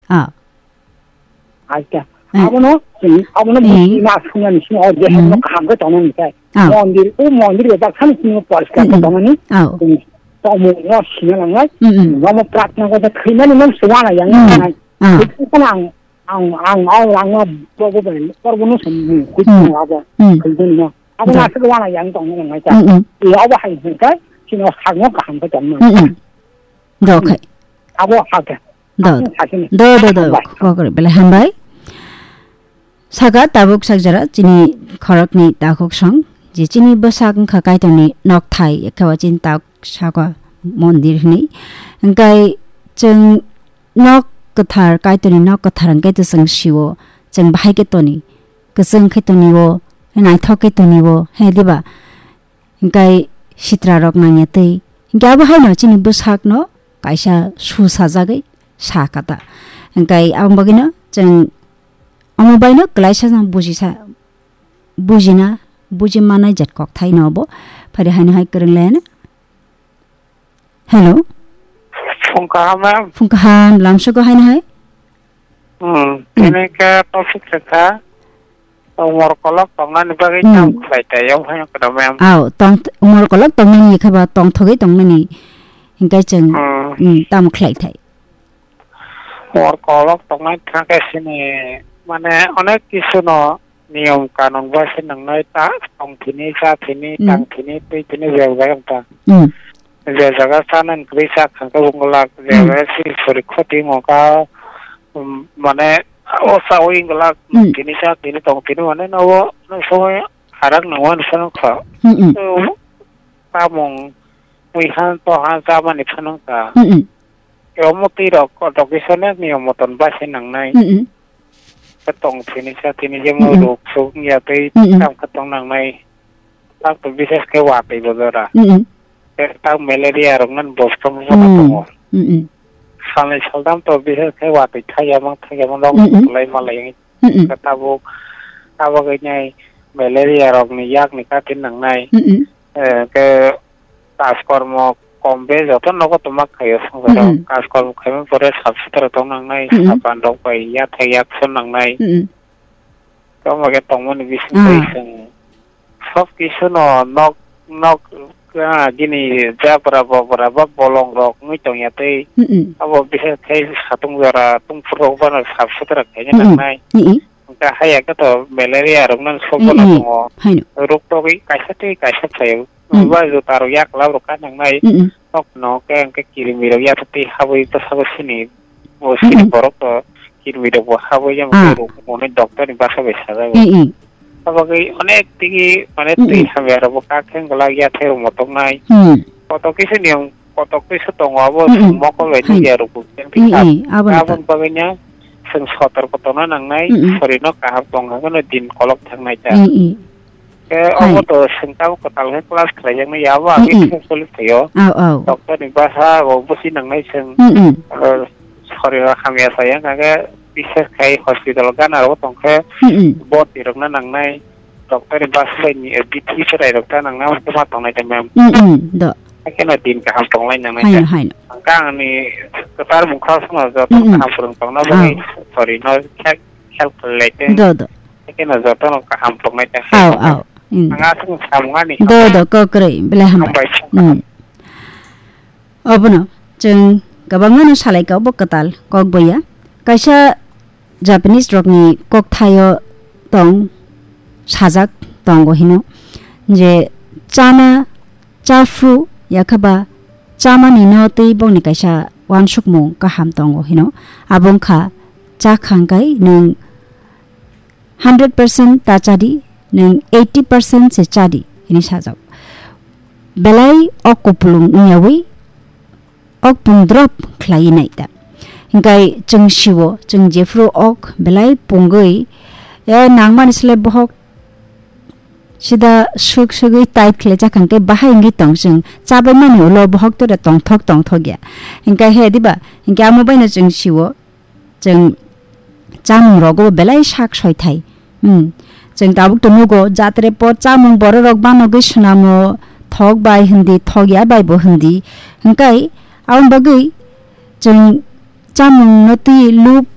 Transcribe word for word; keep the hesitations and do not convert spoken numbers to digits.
Ah. Acha. Eh. Abono, hmm, abono Eh. buji ma swngnani swngo, o je Hmm. no kaham khe tongnani khe. Ah. Mondir, o mondir bai baksa ni swngo poriskar khe Hmm. tongnani. Ah. Hmm. Tongmung no sina nangnai. Hmm, hmm. Nomo pratna ko thwimani no swana yang Hmm. nangnai. Ah. Khwtwng phano ang, ang, ang, ang, ang, ang, bobo bai, porbo no simi, khwtwng Hmm. abo. Hmm. Khwtwng no. Abo Do. Aswk wana yang tongna nangnai ta. Hmm, hmm. E abo hai hwnkhe, sino hakno kaham khe tongna. Hmm, hmm. Do khai. Abo hakhe. Do. Aswk hakhe. Do, do, do. Hambai. Kokore belai hambai. Saka tabuk sakjara chini khorokni takhuk song, je chini bwsak wngkha Kaitorni nokthai, ekha o chini tak saka mondir hwnwi. Hwnkhe chwng nok kwthar, Kaitorni nok kwthar hwnkhe to chwng sio, chwng bahai khe toni, kwchwng khe toni o, naithok khe toni o, he diba? Hingkai sitra rok nangya tei hingke abo haino chini bwsakno kaisa su sajagwi sa kata. Hingkai aboni bagwino chwng omo baino kwlaisa no bujisa, bujina, buji manai jat kok thaino obo. Phari haino hai kwrwng laiano. Hello. Phung kaham, ma'am. Phung kaham, lamsogo haino hai. Hmm, Hmm. Ini ke topik kha. Umor kolok tongnani bagwi Hmm. Tam khlai tai, yang phano kada, ma'am. Aw, tong, umor kolok tongnani khe ba tongthogwi tongnani. Hingkai chwng, Hmm. Hmm, tam khlai thai. Umor kolok tongnai thangkhe sini, mane, onek kisu no niyom kanun bai se nangnai ta, tong thini, cha thini, Hmm. Tang thini, twi thini, bebak wng ta. Hmm. Je jaga chanani kwrwi cha khangkhe wngwlak, je Hmm. jaga siri sori khoti wngkha, um, mane, o chawi wngwlak, Hmm. Tini cha, tini tong, tini mane, nobo, no sobo harak nangmani phano kha. Hmm, hmm. O, tamung, mui han, to han, chamani phano kha. Hmm, hmm. Omo twi rok, kotok kisa ne niyom moton bai se nangnai. Hmm, hmm. Khe tong thini cha thini je mo Hmm, hmm. Ruk suk wngya tei Hmm, hmm. Tam khe tong nangnai. Tak to bises khe watwi bo jora. Hmm, hmm. Khe tak malaria rok nan bostong jora Hmm. Tongo. Hmm, hmm. Salnwi saldam to bises khe watwi thaiya mang thaiya mang rok Hmm, hmm. Lai malai. Hmm, hmm. Khe tabuk tabuk nai malaria rok ni yak ni katin nangnai. Hmm, hmm. Eh, khe Kajkormo kom be joto nogo tongma khaio, swngcharok. Mm-mm. Kajkormo khaimani pore sap sutra tong nangnai, mm-mm, sapan rok bai yathai yakson nangnai. Mm-mm. Tamo khe tongmani bising twi, ah, chwng sob kisu no nok, nok, ah, gini jabra bobra ba bolong rok wngwi tongya tei, mm-mm, abo bisi khai satung jora tungphuru rok bano sap sutra khaina, mm-mm, nangnai. Mm-mm. Hwnkhe haya khe to malaria rok nang sobo no, mm-mm, tongo. Haino. Rok togwi kaisa tei kaisa phaio. Mm. Ba juta rok yaklap rok ka nangnai. Mm-mm. Nok no khe hwnkhe kirimi rok yathai twi habwi bwsabo sini. Bo sini, mm-mm, borok to kirimi rok bo habwi yang, ah, rok monwi doctor ni bwsa bai sajago. Mm-mm. Abagwi onek tigi mane, mm-mm, twi hamya rok bo kak khe glak yathai rok motok nai. Mm. Kotok kisa niyom kotok kisa tongo abo, mm-mm, mokol bai, hai, nukya rok bo khe, mm-mm, aboni, aboni bagwi no chwng sotorko tongna nangnai, mm-mm, sorino kaham tong hwnkheno din kolok thangnai ta. Mm-mm. Khe, hai, obo to chwng tabuk kwtal khe class khlaijaknai ya, abo agwi, mm-mm, khe choli phaio. Au, au. Doctor ni bwsa bo busi nangnai chwng. Mm-mm. Aro soriro hamya saya wngkha khe, bises khai hospital gana rogo tongkhe, mm-mm, boti rokna nangnai. Doctor ni bwsa bai ni, eh, bithi chwrai rok ta nangnai, omo ma tongnai ta, ma'am. Mm-mm, do. Haikhe no din kaham tonglai nangnai, haino, ta, haino. Hwnkhe ang ni kwtal mungkha songno joto, mm-mm, kaham phwrwng tongna bagwi, ah, sorry, no khel, khel khlai tong. Do, do. Haikhe no joto no kaham tongnai ta, au, haino, au. Mm. Ang aswk samung ani. Do, do, kokrwi, belai hambai. Hambai. Mm. Obono chwng kwbangma no salai ka, obo kwtal kok boya. Kaisa Japanese rokni kokthaio tong sajak tongo hino je chana, chaphru yakhaba chamani no twi bongni kaisa wansukmung kaham tongo hino. Abo wngkha, chakhang kai nwng hundred percent ta chadi, nwng eighty percent se chadi, hini sajak. Belai o kupulung wngyawi ok pung drop khlaiwi nai ta. Hingkai chwng sio, chwng jephru ok belai pungwi, eh, nangmani slai bohok sida swk swgwi tight khlai chakha hwnkhe bahai wngwi tong chwng. Chabai mani ulo bohok tore tongthok tongthok ya. Hingkai he diba? Hingke amo baino chwng sio. Chwng chamung rogo belai sak soi thai. Hmm. Chwng tabuk to nugo, jatre por chamung borok rok banogwi swnamo, thok bai hindi, thok ya bai bo hindi. Hwnkhe aboni bagwi chwng chamung no twi lub